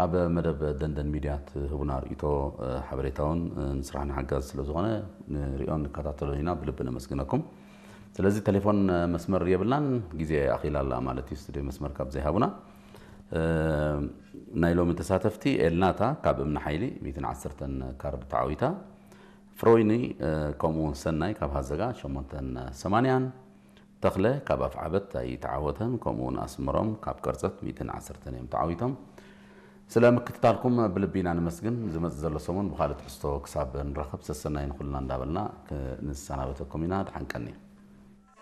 ኣብ መደብ ደንደን ሚድያ ትህቡና ርእይቶ፣ ሓበሬታውን ንስራሕና ሓጋዚ ስለ ዝኾነ ንሪኦ ንከታተሎ ኢና። ብልቢ ነመስግነኩም። ስለዚ ቴሌፎን መስመር የብልናን፣ ግዜ ኣኺላ ኣላ ማለት እዩ። ስቱድዮ መስመር ካብ ዘይሃቡና፣ ናይ ሎሚ ተሳተፍቲ ኤልናታ ካብ እምኒ ሓይሊ ሚእትን ዓሰርተን ካርድ ተዓዊታ፣ ፍሮይኒ ከምኡ እውን ሰናይ ካብ ሃዘጋ ሸሞንተን ሰማንያን፣ ተኽለ ካብ ኣፍዓበት ኣይተዓወተን፣ ከምኡ እውን ኣስመሮም ካብ ቀርጸት ሚእትን ዓሰርተን እዮም ተዓዊቶም። ስለ ምክትታልኩም ብልቢ ኢና ነመስግን። ዝመጽእ ዘሎ ሰሙን ብኻልእ ትሕዝቶ ክሳብ ንራኸብ ሰሰናይ ንኹልና እንዳበልና ክንሰናበተኩም ኢና። ደሓን ቀኒ።